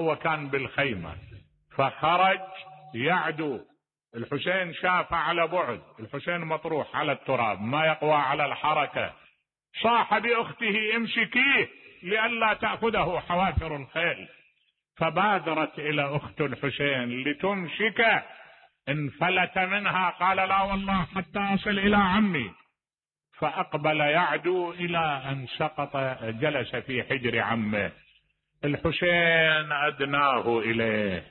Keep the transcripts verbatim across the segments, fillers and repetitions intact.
هو كان بالخيمة فخرج يعدو. الحسين شاف على بعد، الحسين مطروح على التراب ما يقوى على الحركة، صاح بأخته امسكيه لئلا تأخذه حوافر الخيل، فبادرت إلى أخت الحسين لتمسكه، انفلت منها قال لا والله حتى أصل إلى عمي، فأقبل يعدو إلى أن سقط جلس في حجر عمه. الحسين أدناه إليه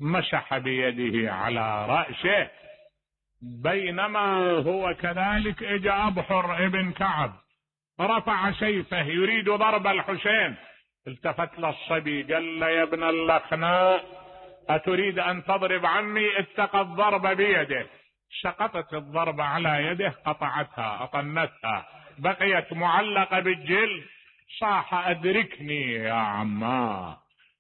مسح بيده على رأسه، بينما هو كذلك اجى أبحر ابن كعب رفع سيفه يريد ضرب الحسين، التفت للصبي قال له يا ابن اللخناء أتريد أن تضرب عمي؟ اتق الضرب بيده. سقطت الضربة على يده قطعتها أطنتها بقيت معلقة بالجلد، صاح أدركني يا عما.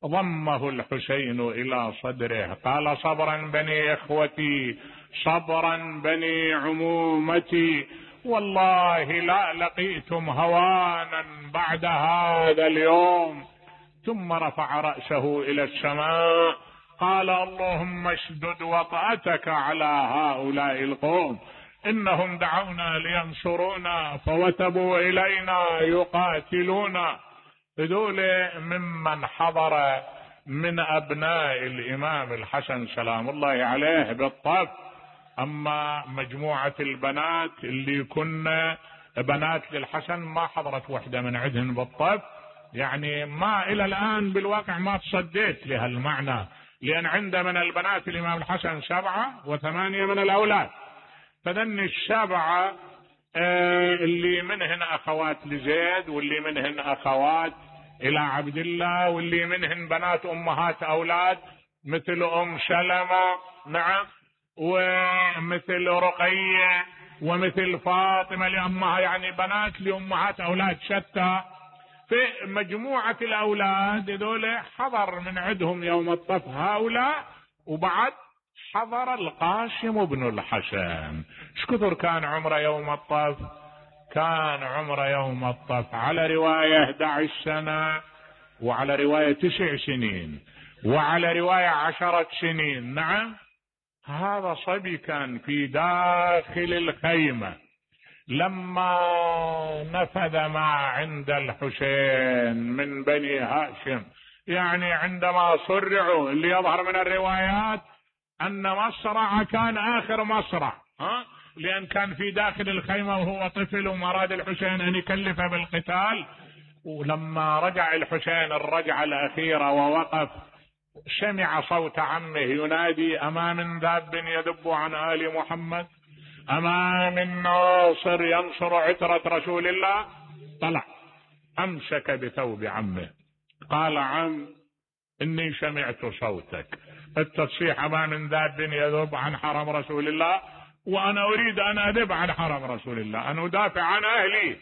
ضمه الحسين إلى صدره قال صبرا بني إخوتي، صبرا بني عمومتي، والله لا لقيتم هوانا بعد هذا اليوم. ثم رفع رأسه إلى السماء قال اللهم اشدد وطأتك على هؤلاء القوم، إنهم دعونا لينصرونا فوتبوا إلينا يقاتلونا. هذول ممن حضر من أبناء الإمام الحسن سلام الله عليه بالطف. أما مجموعة البنات اللي كنا بنات للحسن ما حضرت وحدة من عندهن بالطف، يعني ما إلى الآن بالواقع ما تصديت لهالمعنى، لأن عند من البنات الإمام الحسن سبعة وثمانية من الأولاد، فذن السبعة اللي منهن أخوات لزيد، واللي منهن أخوات إلى عبد الله، واللي منهن بنات أمهات أولاد مثل أم سلمة نعم، ومثل رقية، ومثل فاطمة لأمها، يعني بنات لأمهات أولاد شتى. في مجموعة الأولاد ذولا حضر من عندهم يوم الطف هؤلاء، وبعد حضر القاسم بن الحسن. شكثر كان عمره يوم الطف؟ كان عمره يوم الطف على رواية احد عشر سنة، وعلى رواية تسع سنين، وعلى رواية عشرة سنين. نعم، هذا صبي كان في داخل الخيمة لما نفذ ما عند الحسين من بني هاشم، يعني عندما صرعوا، اللي يظهر من الروايات أن مصرع كان آخر مصرع، ها؟ لأن كان في داخل الخيمة وهو طفل وما أراد الحسين أن يكلفه بالقتال. ولما رجع الحسين الرجعة الأخيرة ووقف سمع صوت عمه ينادي أما من ذاب يذب عن آل محمد، أما من ناصر ينصر عترة رسول الله. طلع أمسك بثوب عمه قال عم إني سمعت صوتك التصيح أما من ذاب يذب عن حرم رسول الله، وأنا أريد أن أذب عن حرم رسول الله، أن أدافع عن أهلي.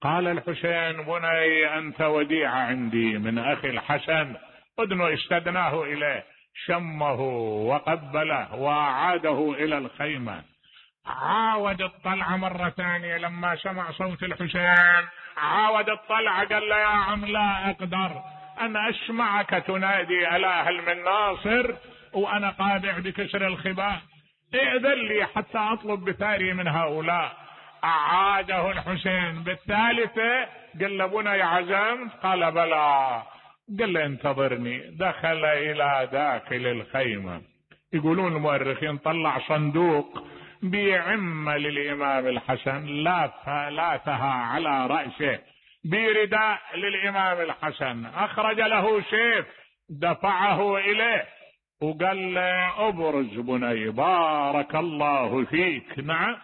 قال الحسين بني أنت وديعة عندي من أخي الحسن، أدنو استدناه إليه، شمه وقبله وأعاده إلى الخيمة. عاود الطلعة مرة ثانية لما سمع صوت الحسين، عاود الطلعة قال له يا عم لا أقدر أن أسمعك تنادي ألا هل من ناصر وأنا قادع بكسر الخباء، ائذن لي حتى أطلب بثاري من هؤلاء. أعاده الحسين بالثالثة قال له بني عزمت؟ قال بلى. قال له انتظرني. دخل إلى داخل الخيمة، يقولون المؤرخين طلع صندوق بعمة للإمام الحسن لاثها على رأسه، برداء للإمام الحسن، أخرج له سيف دفعه إليه وقال له أبرز بني بارك الله فيك. نعم،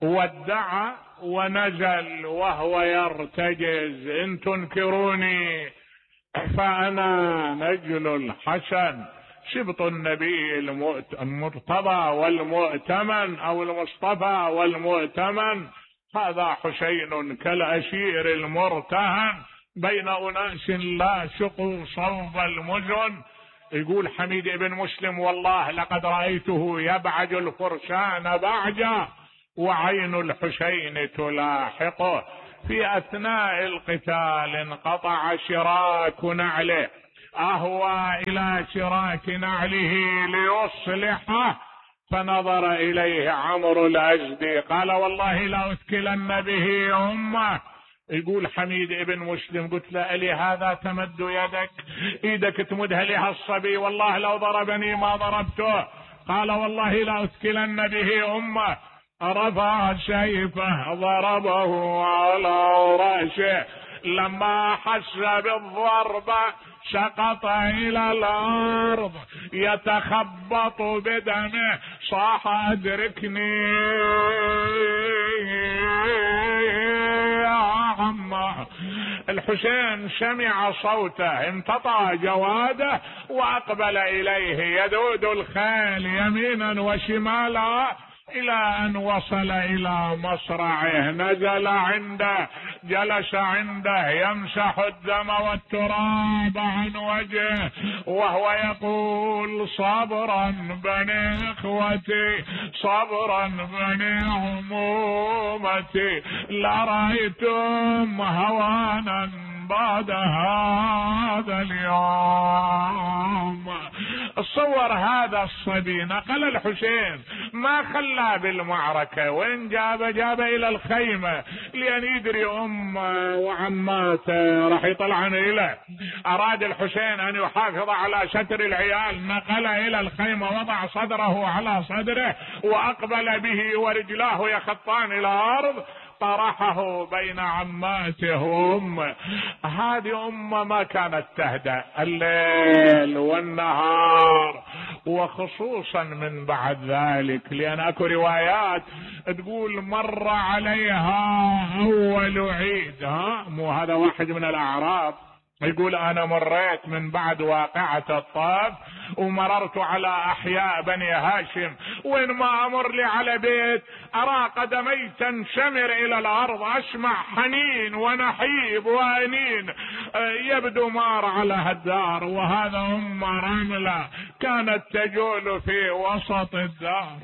ودع ونزل وهو يرتجز إن تنكروني فأنا نجل الحسن شبط النبي المرتضى والمؤتمن أو المصطفى والمؤتمن، هذا حسين كالأشير المرتهن بين أناس لا شقوا صوب المزن. يقول حميد بن مسلم والله لقد رأيته يبعج الفرسان بعجا وعين الحسين تلاحقه. في أثناء القتال انقطع شراك نعله أهوى إلى شراك نعله ليصلحه، فنظر إليه عمرو الأزدي قال والله لأثكلن به أمه. يقول حميد ابن مسلم قلت له ألي هذا تمد يدك، ايدك تمدها لهالصبي، والله لو ضربني ما ضربته. قال والله لأثكلن به أمه. رفع سيفه ضربه على رأسه، لما حس بالضربة سقط إلى الأرض يتخبط بدمه، صاح أدركني يا عمه. الحسين سمع صوته، امتطى جواده وأقبل إليه يدود الخيل يمينا وشمالا، إلى أن وصل إلى مصرعه. نزل عنده، جلس عنده يمسح الدم والتراب عن وجهه وهو يقول صبرا بني إخوتي، صبرا بني عمومتي، لرأيتم هوانا بعد هذا اليوم. تصور هذا الصبي نقل الحسين، ما خلاه بالمعركة، وين جابه؟ جابه إلى الخيمة، لأن يدري أمه وعماته راح يطلعن إليه. أراد الحسين أن يحافظ على ستر العيال، نقله إلى الخيمة، وضع صدره على صدره وأقبل به ورجلاه يخطان إلى الأرض، طرحه بين عماته وأمه. هذه أمه ما كانت تهدأ الليل والنهار، وخصوصا من بعد ذلك، لأن أكو روايات تقول مر عليها أول عيد. ها مو هذا واحد من الأعراب يقول أنا مريت من بعد واقعة الطائف ومررت على أحياء بني هاشم، وين ما أمر لي على بيت أرى قدمي تنشمر إلى الأرض، أسمع حنين ونحيب وأنين، يبدو مار على هالدار. وهذا أم رملة كانت تجول في وسط الدار.